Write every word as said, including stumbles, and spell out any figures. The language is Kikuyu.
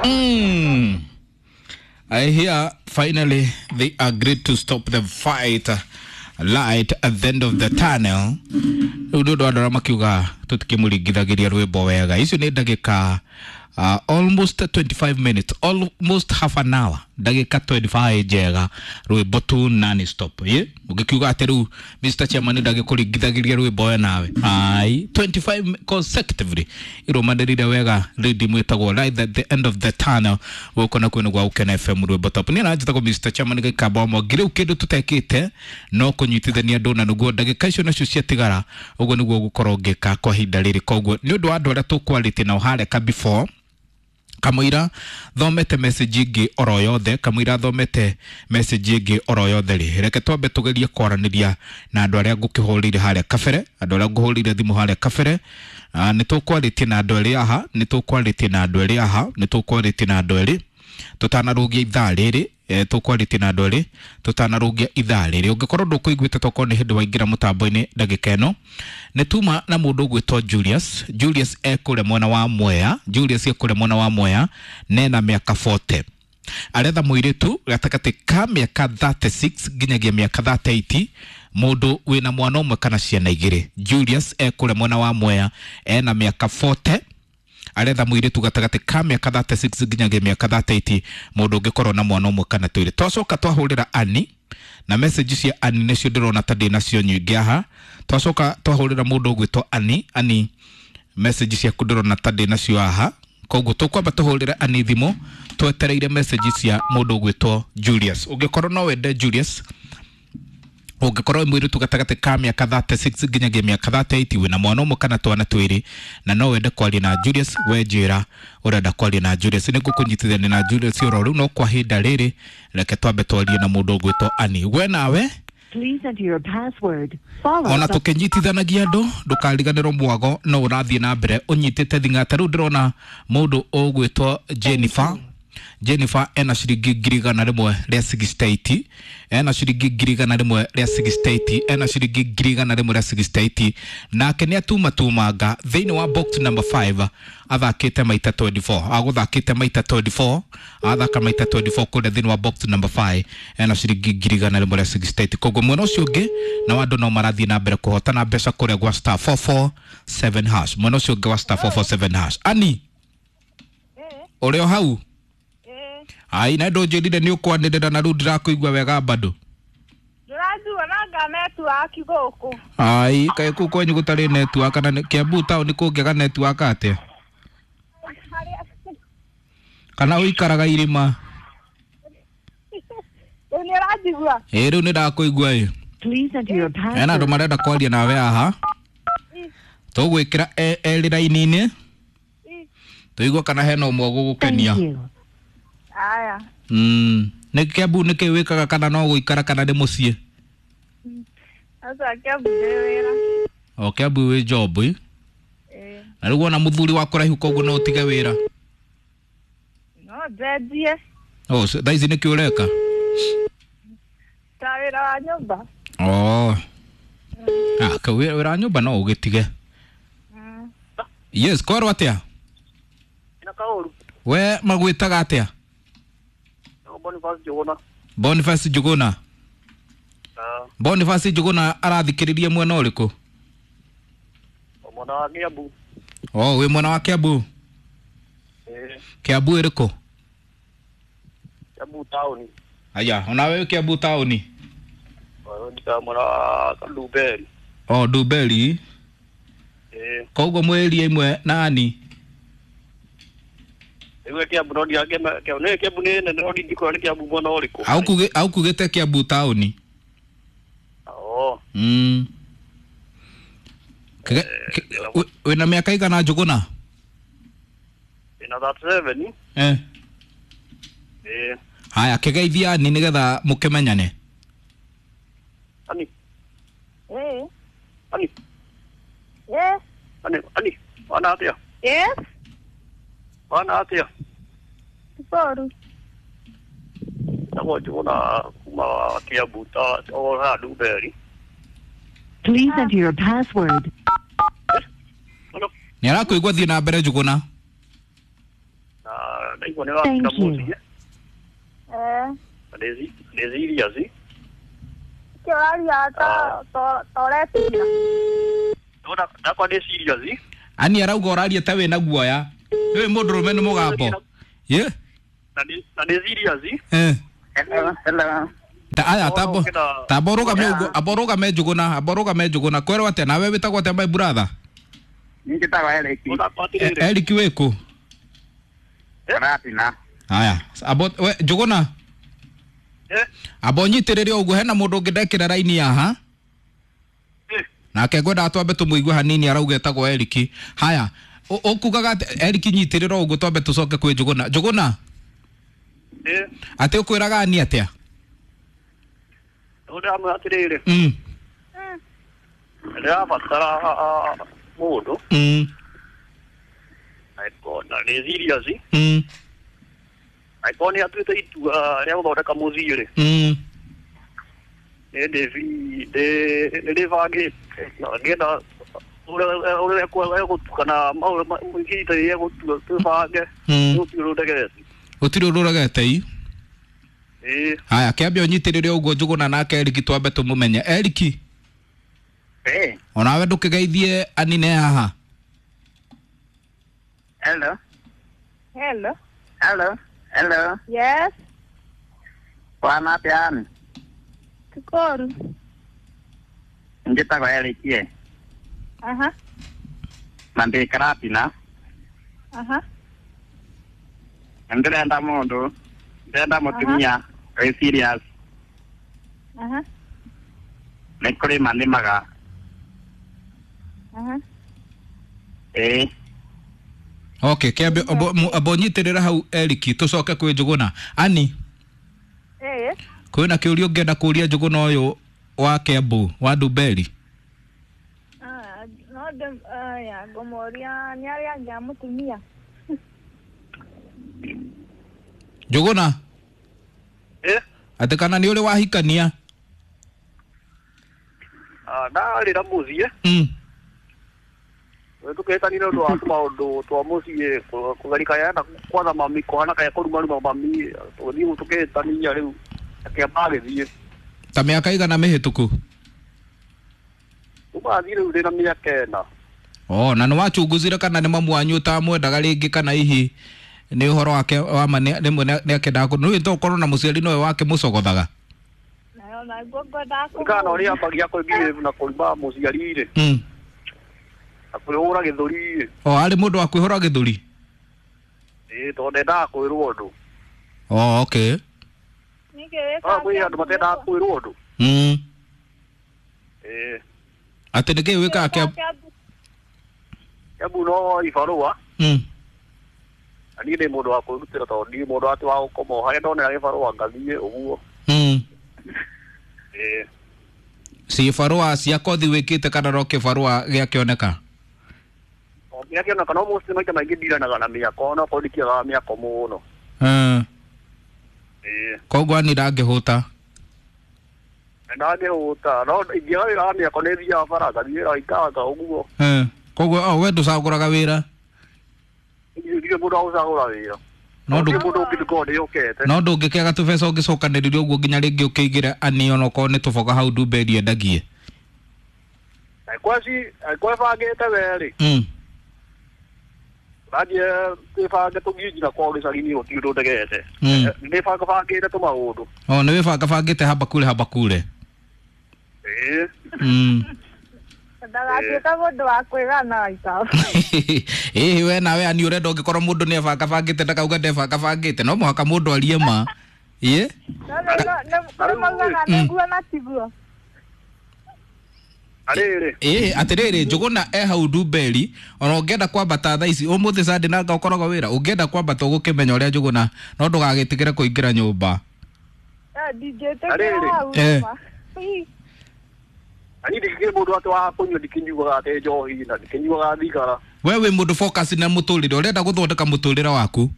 Mm. I hear finally they agreed to stop the fight light at the end of the tunnel. Rĩu nĩ ũndũ wa andũ arĩa makiuga tũtikĩmũringithagĩria rwĩmbo wega. Icio nĩ ndagĩka uh, almost twenty-five minutes, almost half an hour, ndagĩka twenty-five njega rwĩmbo tu non stop. Ĩ ũngĩkiuga atĩ rĩu Mister Chairman ndagĩkũringithagĩria rwĩmbo we nawe, ai twenty-five consecutively irũmanĩrĩire wega rhythm ĩtagwo Light at the End of the Tunnel gũkũ na kwĩna gwa Gũkena F M rwĩmbo top. Niĩ nanjĩtagwo Mister Chairman gĩkamba mwangi. Rĩu kĩndũ tũtekĩte no kũnyitithania andũ na nĩguo ndagĩka icio nacio ciatigara ũguo nĩguo ũgũkorwo ũngĩka kwa ihinda rĩrĩ. Koguo nĩ ũndũ wa andũ arĩa tũkwarĩtie nao harĩa ka before kamũira thomete message ĩngĩ oro yothe, kamũira thomete message ĩngĩ oro yothe rĩ, reke twambe tũgerie kwaranĩria na andũ arĩa ngũkĩhũrĩire harĩa kabere, andũ arĩa ngũhũrĩire thimũ harĩa kabere. Ah, nĩ tũkwarĩtie na andũ erĩ aha, nĩ tũkwarĩtie na andũ erĩ aha, nĩ tũkwarĩtie na andũ erĩ tũtanarũgia ithaa rĩrĩ. Eh, tũkwarĩtie na andũ erĩ tũtanarũgia ithaa rĩrĩ. Ũngĩkorwo ndũkũiguĩte tokorwo nĩ hĩndĩ waingĩra mũtambo-inĩ ndagĩka ĩno, nĩ tuma na mũndũ ũgwĩtwo Julius. Julius ekũrĩa mwena wa Mwea, Julius ekũrĩa mwena wa Mwea nena mĩaka forty, aretha mũirĩtu gatagatĩ ka mĩaka thirty-six nginyagia mĩaka thirty-eight, mũndũ wĩna mwana ũmwe kana ciana igĩrĩ. Julius ekũrĩa mwena wa Mwea ena mĩaka forty, aretha mũirĩtu gatagatĩ ka mĩaka thirty-six nginyagia mĩaka thirty-eight, mũndũ ũngĩkorwo na mwana ũmwe kana twĩrĩ. Twacoka twahũrĩra Annie na message cia Annie nĩcio ndĩrona ta ndĩ nacio nyingĩ aha. Twacoka twahũrĩra mũndũ ũgwĩtwo Annie, Annie message ciaku ndĩrona ta ndĩ nacio aha. Koguo tũkwamba tũhũrĩre Annie thimũ twetereire message cia mũndũ ũgwĩtwo Julius. Ũngĩkorwo no wende Julius, ũngĩkorwo wĩ mũirĩtu gatagatĩ ka mĩaka thirty-six nginyagia mĩaka thirty-eight, wĩna mwana ũmwe kana twana twĩrĩ, na no wende kwaria na Julius, we njĩra ũrenda kwaria na Julius, nĩ ngũkũnyitithania na Julius oro rĩu. No kwa ihinda rĩrĩ reke twambe twarie na mũndũ ũgwĩtwo Annie. We nawe Please enter your password, followed ona by tũkĩnyitithanagia andũ ndũkariganĩrwo mwago no ũrathiĩ na mbere ũnyitĩte thing'ata. Rĩu ndĩrona mũndũ ũgwĩtwo Jennifer. Jennifer ena ciringi ngiri igana rĩmwe rĩa sixty-eight, ena ciringi ngiri igana rĩmwe rĩa sixty-eight, ena ciringi ngiri igana rĩmwe rĩa sixty-eight, nake nĩ atumatumanga thĩinĩ wa box number five, athakĩte maita twenty-four, agũthakĩte maita twenty-four, athaka maita twenty-four kũrĩa thĩinĩ wa box number five, ena ciringi ngiri igana rĩmwe rĩa sixty-eight. Koguo mwena ũcio ũngĩ na andũ no marathiĩ na mbere kũhotana mbeca kũrĩa gwa star four four seven hash, mwena ũcio ũngĩ wa star four four seven hash. Annie, ũrĩ o hau? Ai, na ndũnjĩrire nĩ ũkwanĩrĩra na rĩu ndĩrakũigua wega bado. Ndĩranjigua na nga network gũkũ. Ai, kaĩ kũu kwanyu gũtarĩ network kana nĩ- Kiambu town kũngĩaga network atĩa? Kana ũikaraga irĩma? Rĩu nĩ ũranjigua? Ĩ, rĩu nĩ ndakũigua ĩ. Please enter your Hena andũ password. marenda kwaria nawe haha. Tũgwĩkĩra e- erĩ raini-inĩ tũigue kana hena ũmwe ũgũgũkenia. Thank you. Aya. Mm. Nĩ Kiambu nĩkĩ wĩkaga kana no gũikara kana nĩ mũciĩ? Aca Kiambu ndĩ wĩra. O Kiambu wĩ job ĩ? Ĩ. Na rĩu wona mũthuri wa kũraihu koguo no ũtige wĩra? No njenjie. Oh, thaa ici nĩkĩ ũreka? Ta wĩra wa nyũmba. Oh. Ah, ka wĩra wa nyũmba no ũgĩtige. Mm. Yes, kwarwo atĩa? Na kaũru. We magwĩtaga atĩa? Boniface Njuguna. Boniface Njuguna. Ah, Boniface Njuguna arathikĩrĩria mwena ũrĩkũ? mwena wa Kiambu. Oh, wĩ mwena wa Kiambu? Eh, Kiambu ĩrĩkũ? Kiambu town. Aya, onawe wĩ Kiambu town? Oh, ndika mwena wa Ndumberi. Oh, Ndumberi. Eh, Koguo mwĩ area ĩmwe na Ani? Rĩu Kiambu no ndiange Kiambu nĩ Kiambu nĩ nene no ndingĩkwĩra nĩ Kiambu mwena ũrĩkũ. Aukugĩte Kiambu town? Oh, Mm. Kige- ki- wĩ- wĩna mĩaka igana Njuguna? ina thirty-seven. Eh. Eh, Haya, kĩgeithia Ani nĩgetha mũkĩmenyane. Ani, Ĩ. Ani, Yes. Ani, Ani, wana atĩa? Yes. Wana atĩa? Boru. Njĩtagwo Njuguna kuma Kiambu ta o haha Ndumberi. Please enter your password. Hello. Nĩ arakũigua, thiĩ na mbere Njuguna. Ndaigua nĩ ũratinda Thank you. mũciĩ. Eh. Na ndĩ ndĩ serious. Nĩkĩ ũraria ta ta ta ũretigĩra? Ndona ndakwa ndĩ serious. Ani arauga ũraria ta wĩna guoya. Nĩũĩ mũndũrũme nĩ mũgambo. Ye? Na ndĩ na ndĩ serious. Eh. Hello, hello. Ta aya tabo Ũkĩenda- tabo rũgame ũguo, abo rũgame Njũgũna, abo rũgame Njũgũna. Kwerwo atĩa nawe wĩtagwo atĩa my brother? Niĩ njĩtagwo Eric. Ndakwa E- atĩrĩrĩ. Eric wĩkũ? Karatina. Haya, abo we Njũgũna. Eh. Abo nyitĩrĩre ũguo hena mũndũ ũngĩ ndekĩra raini haha. Eh. Nake ngwendaga twambe tũmũigue hanini arauga etagwo Eric. Haya, ũ- ũkugaga atĩ Eric nyitĩrĩra ũguo twambe tũcoke kwĩ Njũgũna. Njũgũna, Eh. atĩ ũkwĩraga ani atĩa? Ndĩramwĩra atĩrĩrĩ. Mm. Ndĩrabatara mũndũ. Mm. Na ndĩ serious. Mm. Angĩkorwo nĩ atuĩte itua rĩa gũthondeka mũciĩ rĩ. Mm. Nĩ ndĩ ndĩ nĩ ndĩbangĩte na ngĩenda ũrĩa ũrĩa egũtukana maũndũ ihinda rĩrĩa egũtua twĩbange. Mm. Gũtirĩ ũndũ ndegete. Gũtirĩ ũndũ ũregete i. Ĩĩ. Haya, kĩambe ũnyitĩrĩre ũguo Njũgũna nake Eric twambe tũmũmenye. Eric, Eh, onawe ndũkĩgeithie anine haha. hello. Hello. Hello. Hello. Yes. Bwana atĩa Ann? Kikoru. Njĩtagwo Eric ĩ. Aha. Na ndĩ Karatina. Aha. Na ndĩrenda mũndũ. Ndĩrenda mũtumia wĩ serious. Aha. Nĩ kũrĩma nĩmaga. Aha. Ĩĩ. Okay, kĩambe abo mu- abo nyitĩrĩra hau Eric tũcoke kwĩ Njũgũna. Ani, Eh. kwĩna kĩũria ũngĩenda kũria Njũgũna ũyũ wa Kĩambu wa Ndumberi? Ah, no ndĩ aya ngũmũria nĩ arĩa angĩ a mũtumia. Njũgũna, Eh. atĩ kana nĩ ũrĩ wahikania? Ah, ndarĩ na mũciĩ. Mm. Tũkĩhĩtanire ũndũ wa tũmaũndũ twa mũciĩ kũgerika yenda kwatha mami kũhana kaya kũrumaruma mami tũgĩthiĩ tũkĩhĩtania rĩu akĩamba agĩthiĩ. Ta mĩaka igana mĩhĩtũku? Kuma athiĩ rĩu ndĩna mĩaka ĩna. Oh, na nĩ wachunguzire kana nĩ mamu wanyu ũtamwendaga rĩngĩ kana hihi nĩ ũhoro wake wa ma nĩ- rĩmwe nĩ nĩ akendaga kũ nĩũĩ to ũkorwo na mũciari nowe wake mũcogothaga. Nayo naguo ngwendaga Kũringana na ũrĩa kũmũria. ambagia kwĩbehave na kũruma mũciari rĩ. Mm. Na kwĩhũra gĩthũri rĩ. O arĩ mũndũ wa kwĩhũra gĩthũri? Ĩĩ tondũ ndendaga kwĩrwo ũndũ. Oh, okay. Nĩkĩ wĩkaga No kwĩ andũ matendaga kwĩrwo ũndũ. Mm. Ĩĩ. Atĩ nĩkĩĩ wĩkaga Kĩambu? Kĩambu? Kĩambu no ibarũa. Mm. Na niĩ ndĩ mũndũ wa kwĩrutĩra tondũ ndirĩ mũndũ atĩ wa gũkoma o harĩa ndonera gĩbarũa ngathiĩ ũguo. Mm. Ĩĩ. Cibarũa cia kothi wĩkĩte kana no kĩbarũa gĩakĩoneka? O kĩrĩa kĩoneka no mũciĩ maita maingĩ ndiranaga na mĩako onokorwo ndikĩagaga mĩako mũno. Mm. Ĩĩ. Koguo ani ndangĩhũta. Ndangĩhũta no ingĩaga wĩra wa mĩako nĩ thiaga bara ngathiĩ wĩra ikanga ũguo. Mm. Koguo oh, we ndũcagũraga wĩra? Ndirĩ mũndũ wa gũcagũra wĩra. No ndũ Ndirĩ mũndũ ũngĩ ndikorwo ndĩhokete. no ndũngĩkĩaga tũbeca ũngĩcokanĩrĩria ũguo nginya rĩngĩ ũkĩigĩre ani onokorwo nĩ tũboga hau Ndumberi endagie. Angĩkorwo ci angĩkorwo ĩbangĩte we rĩ. Mm. Tũrathiĩ twĩbange tũthiĩ nginya kwao gĩcagi-inĩ gũtirĩ ũndũ ndegete. Mm. Nĩ bangabangĩte tũmaũndũ. Oh, nĩ wĩbangabangĩte haba kule haba kule. Ĩĩ. Mm. Ndagatuĩka mũndũ wa kwĩgana ita. Ĩĩ we nawe ani ũrenda ũngĩkorwo mũndũ nĩ ebangabangĩte ndakauga ndebangabangĩte no mũhaka mũndũ arie ma. Ĩĩ? No nĩ kũrĩ maugaga nĩguo na tiguo. Na rĩrĩ. Ĩĩ atĩrĩrĩ Njũgũna e hau Ndumberi ona ũngĩenda kwambata thaa ici ũmũthĩ Sunday nanga ũkoragwo wĩra ũngĩenda kwambata ũgũkĩmenya ũrĩa Njũgũna no ndũgagĩtigĩre kũingĩra nyũmba. Eh, ndingĩtĩkĩra Arĩrĩ. hau Eh. ma. Ii. Na niĩ ndikĩrĩ mũndũ atĩ wa kũnyua ndikĩnyuaga atĩ njohi na ndikĩnyuaga thigara. We wĩ mũndũ focus na mũtũrĩre ũrenda gũthondeka mũtũrĩre waku.